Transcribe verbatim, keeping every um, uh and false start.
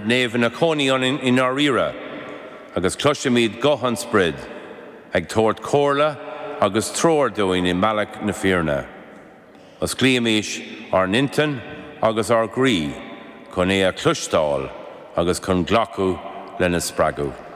Naomh ina chónaí ionainn i ndáiríre, agus cloisimid guth an Sprid ag tabhairt comhairle agus treoir dúinn i mbealach na fírinne. Osclaímis ár n-intinn agus ár gcroí chun é a chloisteáil agus chun glacadh lena spreagadh.